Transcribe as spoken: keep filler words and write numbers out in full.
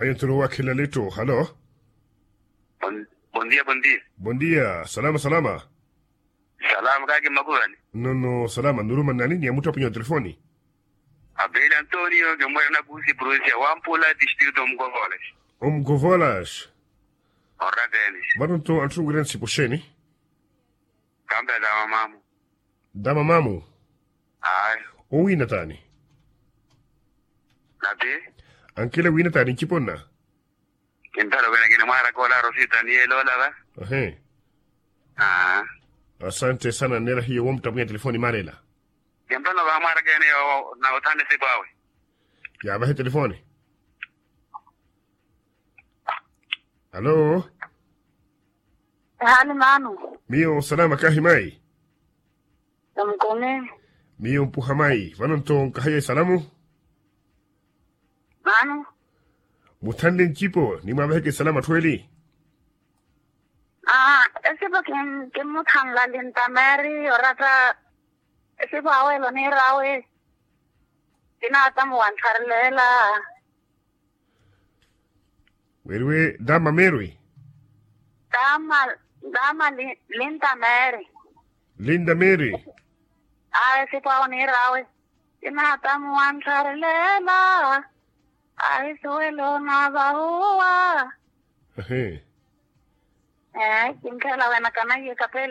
Ayo nturo wakhela letto halo. Bondia bondia. Bondia salama salama. Salama kaki makuvani. Nono salama nuruma nani ni ya muttu apunyo telefoni. Abeli antonio kimwena kusi prusia wampula distrito mkovolas. Omkovolas. Orateni. Vano nto anthu ngwira nsipo xeni. Kambe dama mamu. Dama mamu. Ayi. Owina tani. Nati. Ankele wina tani nciponna. Kintala wina kini mwaraka ola rosita ni elolava. Ahe. Aa. Asante sana nera hiyo womutapwinya telefoni marela. Kintala vamwaraka ene yo na uthane sipawe. Yavahe telefoni. Alo. Ehani manu. Miyo salama kahi mayi. Namukumi. Miyo mpuha mayi vano nto nkahaye salamu. Manu. Muthanle ncipo ni mwavaheke salama thweli. Aa esipo kimmuthanla lintameri orata. Esipo awelo nirawe. Kinatamu wantharlela. Weriwe dama merwi. Dama dama linda meri. Linda meri. Awe sipawo nirawe. Kinatamu wantharlela. Awe siwelo navahuwa. Ehe. Ee kinkhela wena kanaiye kapele.